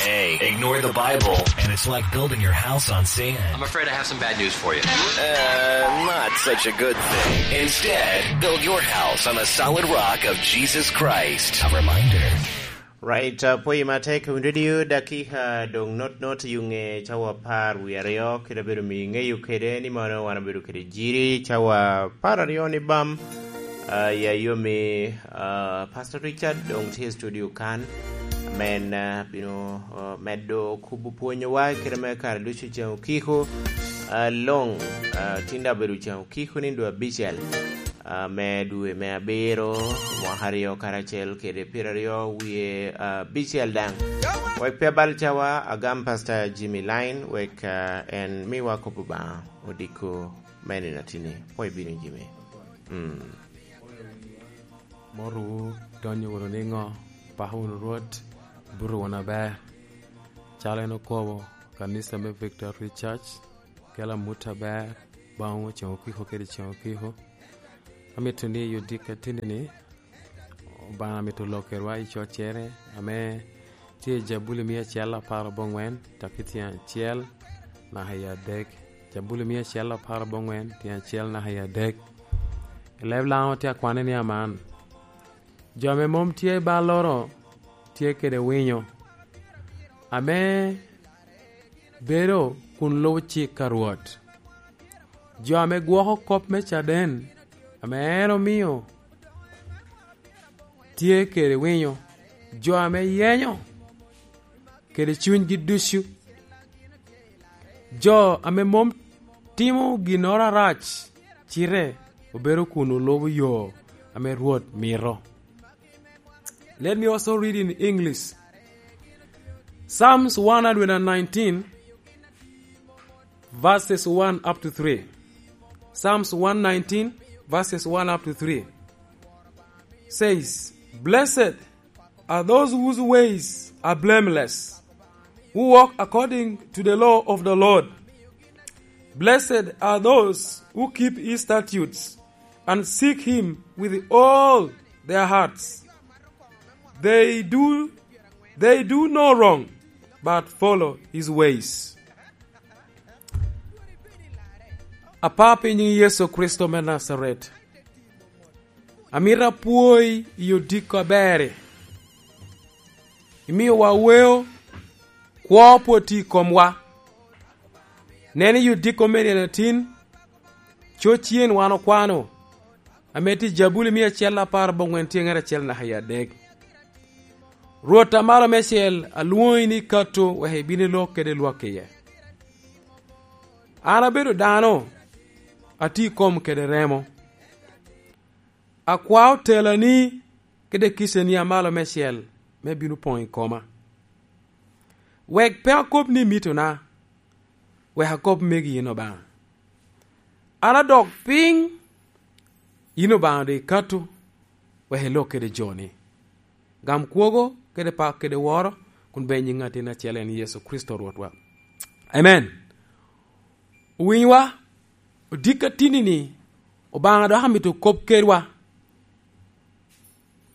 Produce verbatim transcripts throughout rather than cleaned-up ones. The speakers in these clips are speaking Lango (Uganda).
Hey, ignore the Bible, and it's like building your house on sand. I'm afraid I have some bad news for you. Uh, not such a good thing. Instead, build your house on a solid rock of Jesus Christ. A reminder. Right, uh, pwoyi matek, wun radio dakika dong not not yuŋe cawa apar wie aryo, kede abedo mi ŋeyo kede ni mono wan abedo kede jiri cawa apar aryo ni bam. Ah, ya yomi, ah, Pastor Richard dong tye i studio kan, men, ah, bino, ah, medo kubo pwonyowa kede me kare ducu ceŋ okiko, ah, long, ah, tin daŋ obedo ceŋ okiko ni dwe abicel, ah, me dwe me abiro, mwaka aryo karacel kede pyeraryo wie, ah, abicel daŋ. Wek pe abal cawa, agam Pastor Jimmy Line, wek, ah, en miwa kop Obaŋa odiko me nino atini. Pwoyo bino, Jimmy. Mm. Morowu, donyo wunu niŋo? Pako wunu Rwot, buto wunu aber. Calo en okobo, kanisa me Victory Church kelo amut aber baŋwu ceŋ okiko kede ceŋ okiko. Amito ni i odiko atini-ni, Obaŋa mito lok kedwa i coccere ame tye i Jabuli mia acel apar aboŋwen, taki tyen acel naka i adek. Jabuli mia acel apar aboŋwen, tyen acel naka i adek. I leb Laŋo tye akwane ni aman, jo ame mom tye i balloro tye kede winyo, ame bedo kun lubo cik a Rwot. Jo ame gwoko kop me caden ame en omio tye kede winyo, jo ame yenyo kede cunygi ducu, jo ame mom timo ginnoro arac, cite obedo kun olubo yo ame Rwot mito. Let me also read in English. Psalms one hundred nineteen, verses one up to three. Psalms one nineteen, verses one up to three says, "Blessed are those whose ways are blameless, who walk according to the law of the Lord. Blessed are those who keep his statutes and seek him with all their hearts. They do, they do no wrong, but follow his ways." Apa pi nyiŋ Yecu Kricito me Najaret, amito apwoyi i odiko aber-ri. Imiowa weo, kwo pwod tye i komwa. Nen i odiko me nino atin, coc yen wan okwano, ame tye i Jabuli mia acel apar aboŋwen tye ŋet acel naka i adek. "Rwot a Malo Meicel, alwoŋi ni kato wek ibin ilok kede lwak iye. An abedo dano, atye i kom kede remo. Akwao telani kede kicani a Malo Meicel me bino poŋ i koma. Wek pe akob ni mitona, wek akob megi yin Obaŋa. An adok piny, yin Obaŋa doŋ ikato, wek ilok kede joni. Gam kwogo kede pak kede woro, kun beny i ŋatin acel en Yecu Kricito Rwotwa. Amen." Owinywa, odiko atinni-ni, Obaŋa dok amito kop kedwa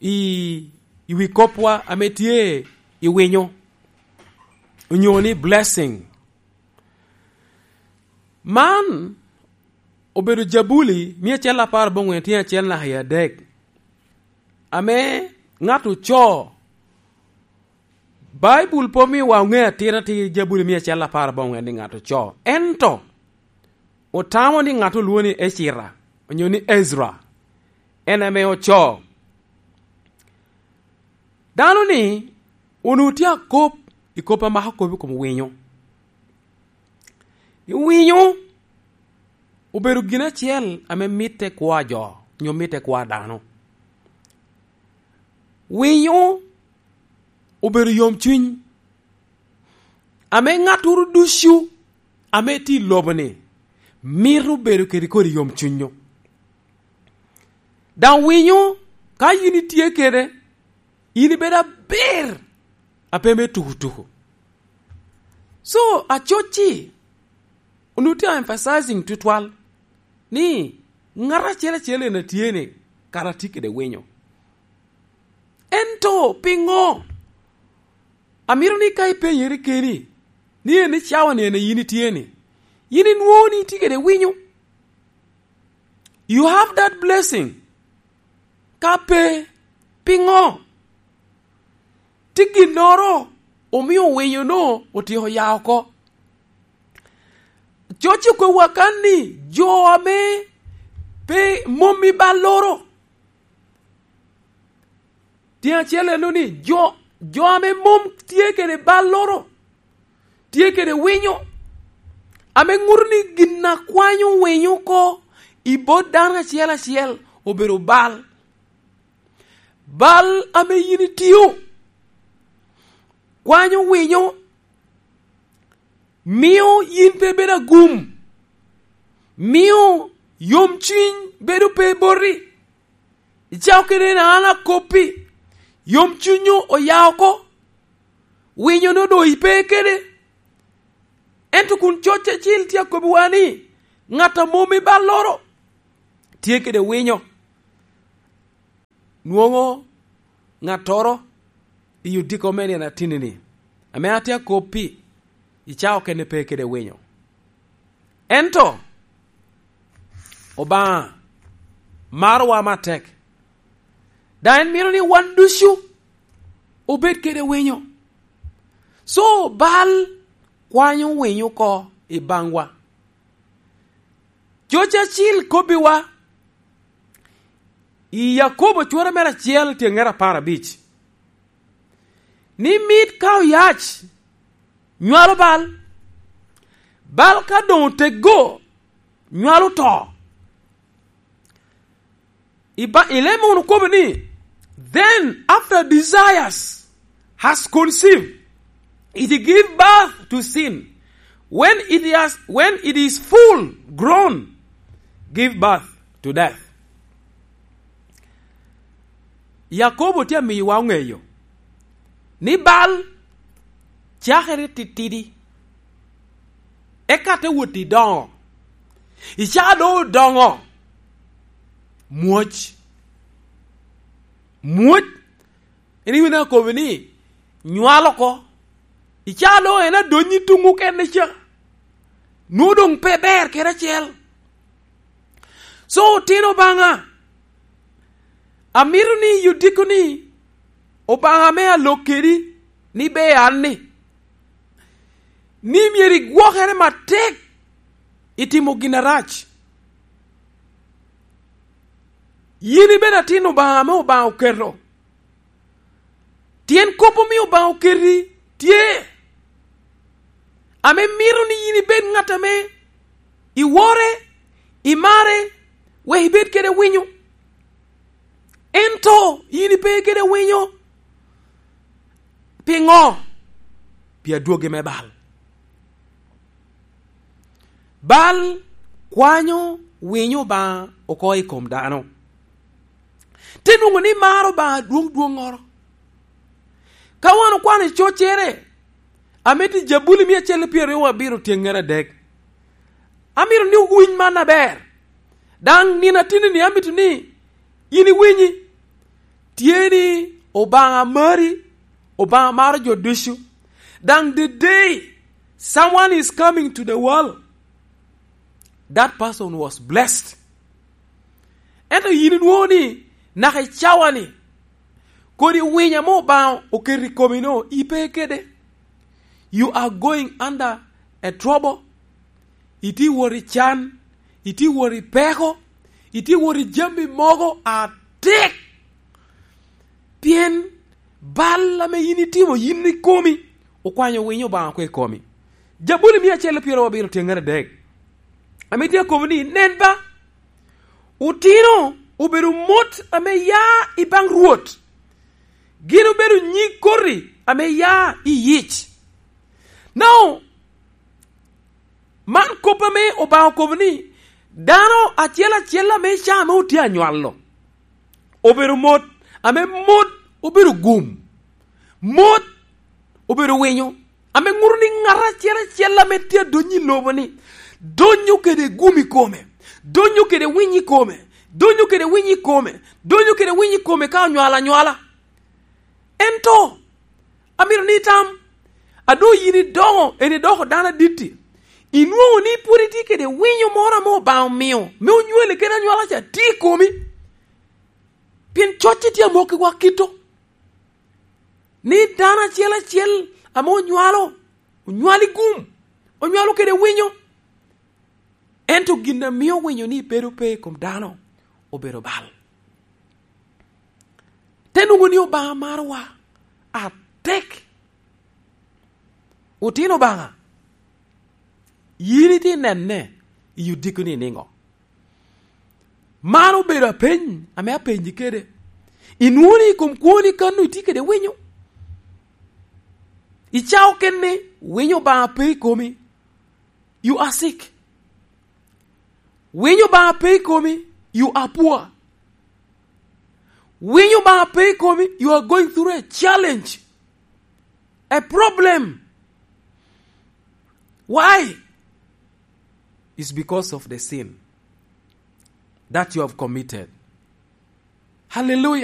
i, i wi kopwa ame tye i winyo, onyo ni blessing. Man obedo Jabuli mia acel apar aboŋwen tyen acel naka i adek, ame ŋat ocoo. Baibul pe omiowa oŋe atir atir Jabuli mia acel apar aboŋwen ni ŋat ocoo. Ento otamo ni ŋat olwoŋo ni Ecira, onyo ni Ezra, en ame ocoo. Dano-ni onwoŋo tye akop i kop a mako kop i kom winyo. Winyo obedo gin acel ame mitte kwo a jo, onyo mitte kwo a dano. Winyo obedo yomcuny, ame ŋattoro ducu ame tye i lobo-ni mito bedo kede kodi yomcuny-nyu. Daŋ winyo, ka yin itye kede, in ibedo aber, a pe me tukutuku. So, acoc-ci, onwoŋo tye emphasizing tutwal ni ŋat acel acel en a tye ni kara tye kede winyo. Ento piŋo Amito ni ka ipenyere keni, ni en i cawa-ni en a yin itye-ni, yin inwoŋo ni itye kede winyo. You have that blessing. Ka pe, piŋo? Tye ginnoro omio winyo-nu otyeko ya oko. Coc okobbiwa kan ni jo ame pe mom i balloro, tyen acel eno ni jo, jo ame mom tye kede balloro, tye kede winyo, ame ŋuto ni gin a kwanyo winyo oko i bot dano acel acel obedo bal. Bal ame yin itio kwanyo winyo, mio yin pe ibedo agum, mio yomcuny bedo pe boti. Icako kede ni an akobbi, yomcuny oya oko, winyo-nu doŋ ipe kede. Ento kun coc acil tye akobbiwa ni, ŋat a mom i balloro tye kede winyo. Nwoŋo ŋattoro i odiko me nino atinni-ni, ame atye akobbi, i cawa okene pe kede winyo. Ento Obaŋa marowa matek, daŋ en mito ni wan ducu obed kede winyo. So, bal kwanyo winyo oko i baŋwa. Coc acil kobbiwa i Yakobo cwara mere acel tyeŋŋere apar abic, ni mit ka oyac nywalo bal, bal ka doŋ oteggo nywalo to. I ba-, i leb munu okobo ni, "Then after desires has conceived, it give birth to sin. When it has, when it is full grown, give birth to death." Yakobo tye amiyowa oŋeyo ni bal cakere titidi, eka te wot i doŋo. I caa doŋ odoŋo, mwoc. Mwoc, en iwinyo akobo ni nywalo oko. I caa doŋ en adonyo i tuŋ okene ca. Nwoŋo doŋ pe ber kede acel. So, otino Obaŋa, amito ni i odiko-ni, Obaŋa ame alok kedi ni ber an-ni, ni myero igwokere matek i timo gin arac. Yin ibedo atin Obaŋa ame Obaŋa oketo. Tyen kop omio Obaŋa oketi tye, ame mito ni yin ibed ŋat ame iwore, imare, wek ibed kede winyo. Ento yin ipe kede winyo. Piŋo? Pi adwogi me bal. Bal kwanyo winyo Obaŋa oko i kom dano. Te nwoŋo ni maro Obaŋa dwoŋ dwoŋŋoro. Ka wan okwano i coccere, amito i Jabuli mia acel pyeraryo abiro tyeŋŋere adek. Amito ni owiny man aber. Daŋ nino atinni amito ni yin iwinyi. Tye ni Obaŋa mari, Obaŋa maro jo ducu. Daŋ the day someone is coming to the world, that person was blessed. Ento yin inwoŋo ni naka i cawa-ni, kodi winyo ame Obaŋa oketo i komi-no, ipe kede. You are going under a trouble. Itye wot i can, itye wot i peko, itye wot i jami mogo atek. Pien bal ame yin itimo yin ikomi, okwanyo winyo Obaŋa oko i komi. Jabuli mia acel pyeraryo abiro tyeŋŋere adek, ame tye akobo ni, "Nen ba, otino obedo mot ame ya i baŋ Rwot, gin obedo nyig koti ame ya i yic." Now, man kop ame Obaŋa okobo ni, dano acel acel ame ca ame otye anywalo, obedo mot, ame mot obedo gum, mot obedo winyo, ame ŋuto ni ŋat acel acel ame tye adonyo i lobo-ni, donyo kede gum i kome, donyo kede winyo i kome, donyo kede winyo i kome, donyo kede winyo i kome ka onywalo anywala. Ento, amito ni itam, A doŋ yin idoŋo, en idoko dano aditti, inwoŋo ni pwod itye kede winyo moro ame Obaŋa omio me onywali kede anywala ca tye i komi. Pien cocce tye amokkiwa kito, ni dano acel acel ame onywalo, onywalo i gum, onywalo kede winyo. Ento gin a mio winyo ni bedo pe i kom dano obedo bal. Te nwoŋo ni Obaŋa marowa atek. Otino Obaŋa, yin itye nene i odiko ni niŋo? Man obedo apeny ame apenyi kede. Inwoŋo ni i kom kwoni kan-nu itye kede winyo? Icao kene winyo Obaŋa pe i komi, you are sick. Winyo Obaŋa pe i komi, you are poor. Winyo Obaŋa pe i komi, you are going through a challenge, a problem. Why? It's because of the sin that you have committed. Hallelujah.